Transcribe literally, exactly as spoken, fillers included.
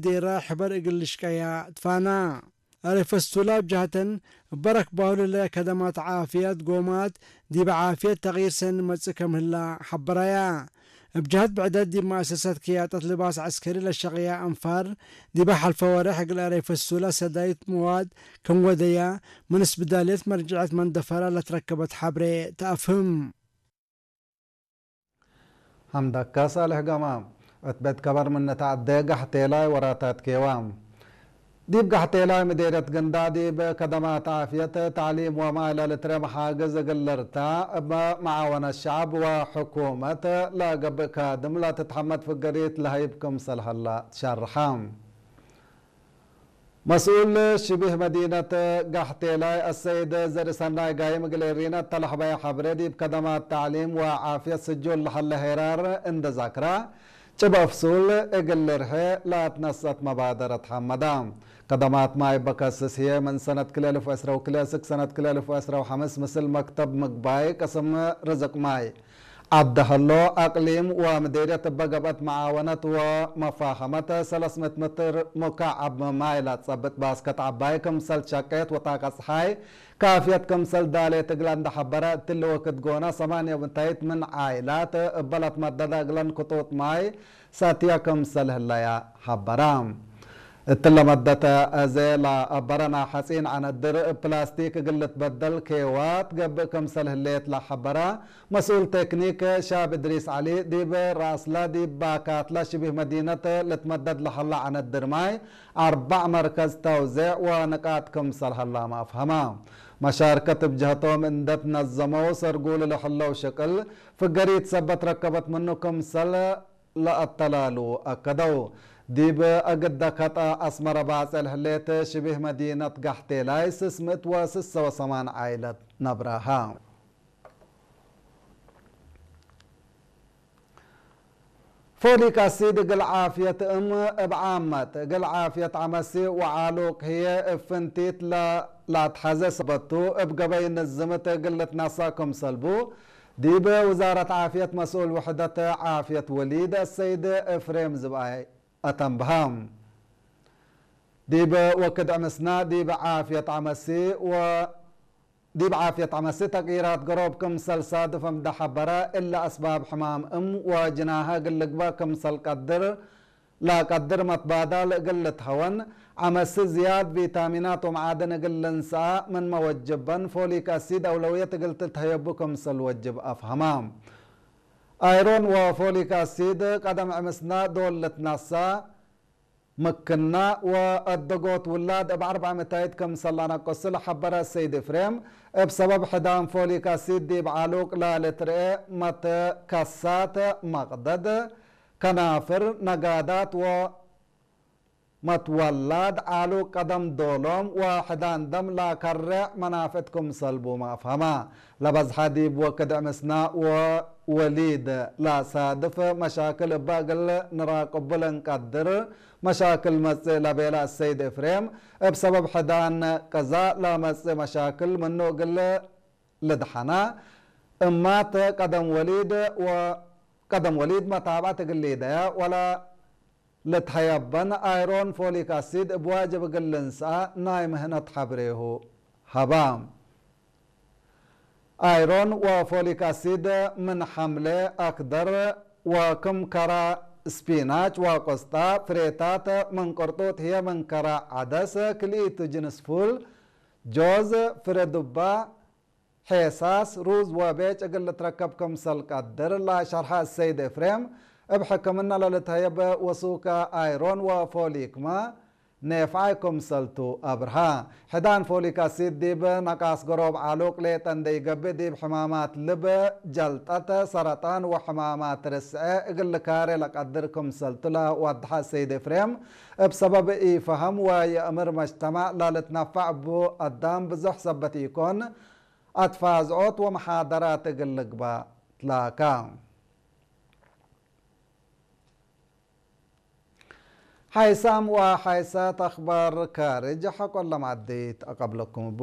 ዴራ ሕበር እግል ልሽቀያ ትፋና። አሬ ፈስቱላ እብ ጀሀተን፣ እበ ረክባሁ ለለ ከደማት ዓፍየት ጎማት ዲበ ዓፍየት ተቅይር ሰኒ መጽእ ከም ህላ ሐበራያ። እብ ጀሀት ብዕደት ዲብ መአሰሰት ክያጠት ልባስ ዐስከሪ ለሸቅያ አንፋር፣ ዲበ ሐልፈ ወሬሕ እግል አሬ ፈስቱላ ሰዳይት መዋድ ክም ወደያ፣ ምን እስብዳልየት መርጅዐት መንደፈራ ለትረከበት ሐብሬ ተአፍህም። ሐምደከ ሳልሕ ገማም። እት ቤት ከበር ምን ነትዐዴ ጋሕቴላይ ወራታት ኬዋ። ዲብ ጋሕቴላይ ምዴርየት ግንዳ ዲብ ከደማት ዓፍየት፣ ተዕሊም ወማይ ለልትረ መሓግዝ እግል ልርታ፣ እብ መዓወነት ሸዐብ ወሕኩመት ለገብእ ካድም ለትትሐመድ ፍገሪት ለሀይብ ክምሰል ሀላ ትሸርሐ። መስኡል ሽቢህ መዲነት ጋሕቴላይ አሰይድ ዘርኢሰናይ ጋይም እግል ኤሪና እተ ለሐበየ ሐብሬ፣ ዲብ ከደማት ተዕሊም ወዓፍየት ስጁል ለሀለ ሄራር እንዴ ዛክራ፣ ጭብ አፍሱል እግል ልርሐ ለአትነሰአት መባደረት ሐመዳ። ከደማት ማይ በከስስ ህዬ ምን ሰነት ክልኤ አልፍ ወዕስራ ወክልኤ እስክ ሰነት ክልኤ አልፍ ወዕስራ ወሐምስ ምስል መክተብ ምግባይ ቅስም ርዝቅ ማይ ዐድ ሀሎ፣ አቅሊም ወምዴርየት እበ ገብአት መዓወነት ወመፋሀመት ሰለስ ምእት ምትር ሙካዐብ ማይ ለአትጸብጥ ባስከት ዐባይ ክምሰል ትሸቄት ወጣቀ ጸሓይ ካፍየት ክምሰል ዳሌት እግለ እንዴ ሐበረ፣ እትሊ ወክድ ጎነ ሰማንየ ምታይት ምን ዓይላት እበ ለትመደደ እግለን ክጡጥ ማይ ሰትየ ክምሰል ህለየ ሐበረ። እትለ መደተ አዜ ለአበረ ናይ ሐጺን ዐነድር እብ ፕላስቲክ እግል ልትበደል ኬዋት ገብእ ክምሰል ህሌት ለሐበረ መስኡል ቴክኒክ ሻብ እድሪስ ዐሊ፣ ዲብ ረአስለ ዲብ ባካትለ ሽቢህ መዲነት ልትመደድ ለሀለ ዐነድር ማይ አርበዕ መርከዝ ተውዜዕ ወንቃጥ ክምሰል ሀላመ አፍሀመ። መሻርከት እብ ጀህቶም እንዴ ትነዘመው ሰርጉል ለህለው ሽቅል ፍገሪት ሰበት ረከበት ምኑ ክምሰል ለአተላሉ አከደው። ዲብ እግደ ከጠ አስመረ ባጽዕ ለህሌት ሽቢህ መዲነት ጋሕቴላይ ስስ ምእት ወስሰ ወሰማን ዓይለት ነብራሃ። ፎሊክ አሲድ እግል ዓፍየት እም እብ ዓመት፣ እግል ዓፍየት ዐመሲ ወዓሉቅ ህዬ እብ ፍንቲት ለ-፣ ለአትሐዜ ሰበት ቱ፣ እብ ገበይ ንዝምት እግል ልትነሰእ ክምሰል ቡ፣ ዲብ ውዛረት ዓፍየት መስኡል ውሕደት ዓፍየት ወሊድ አሰይድ እፍሬም ዝብኣይ አተንብሀ። ዲብ ወክድ ዕምስና ዲብ ዓፍየት ዐመሲ ወ-፣ ዲብ ዓፍየት ዐመሲ ተቅይራት ገሮብ ክምሰል ሳድፍ እምደ ሐበረ፣ እለ አስባብ ሕማም እም ወጅናሀ እግል ልግበእ ክምሰል ቀድር፣ ለቀድር መትባዳል እግል ልትሀወን፣ ዐመሲ ዝያድ ቪታሚናት ወመዓድን እግል ልንሰአ ምንመ ወጅበን፣ ፎሊክ አሲድ አውለውየት እግል ትትሀየቡ ክምሰል ወጅብ አፍሀማ። አይሮን ወፎሊክ አሲድ ቀደም ዕምስና ዶል ልትነሰእ ምክና ወአደጎት ውላድ እብ አርበዕ ምታይት ክምሰል ለአነቅሱ ለሐበረ ሰይድ ኤፍሬም፣ እብ ሰበብ ሕዳን ፎሊክ አሲድ ዲብ ዓሉቅ ለልትርኤ መትከሳት መቅደድ፣ ከናፍር፣ ነጋዳት ወ መትወላድ ዓሉቅ ቀደም ዶሎም ወሕዳን ደም ለከሬዕ መናፍዕት ክምሰል ቡመ አፍሀማ። ለበዝሐ ዲብ ወክድ ዕምስና ወወሊድ ለሳድፍ መሻክል እበ እግል ንራቅቡ ለእንቀድር መሻክል መጽእ ለቤለ አሰይድ ኤፍሬም፣ እብ ሰበብ ሕዳን ቅዛእ ለመጽእ መሻክል ምኑ እግል ልድሐና፣ እማት ቀደም ወሊድ ወ-፣ ቀደም ወሊድ መታብዐት እግል ሊደያ ወለ ልትሀየበን አይሮን ፎሊክ አሲድ እብ ዋጅብ እግል ልንሰአ ናይ ምህነት ሐብሬሁ ሀባ። አይሮን ወፎሊክ አሲድ ምን ሐምሌ አክደር ወክም ከረ ስፒናች ወቆስጣ፣ ፍሬታት ምን ቅርጡጥ ህዬ ምን ከረ ዐደስ፣ ክልኢቱ ጅንስ ፉል፣ ጆዝ፣ ፍሬ ዱባ፣ ሔሳስ፣ ሩዝ ወቤጭ እግል ልትረከብ ክምሰል ቀድር ለሸርሐ አሰይድ ኤፍሬም፣ እብ ሕክምና ለልትሀየብ ወሱከ አይሮን ወፎሊክመ ኔፍዓይ ክምሰል ቱ አብርሃ። ሕዳን ፎሊክ አሲድ ዲብ ነቃስ ገሮብ ዓሉቅ ሌጠ እንዴ ኢገብእ፣ ዲብ ሕማማት ልብ፣ ጀልጠት፣ ሰረጣን ወሕማማት ርስዐ እግል ልካሬ ለቀድር ክምሰል ቱ ለወድሐ አሰይድ ኤፍሬም፣ እብ ሰበብ ኢፈሀም ወየእምር መጅተማዕ ለልትነፈዕ እቡ አዳም ብዙሕ ሰበት ኢኮን፣ አትፋዝዖት ወመሓደራት እግል ልግባእ ትላካ። ሓይሳም ወሓይሳት አኽባር ካርጅ ሐቆ ለማዕዲት አቀብለኩም እቡ።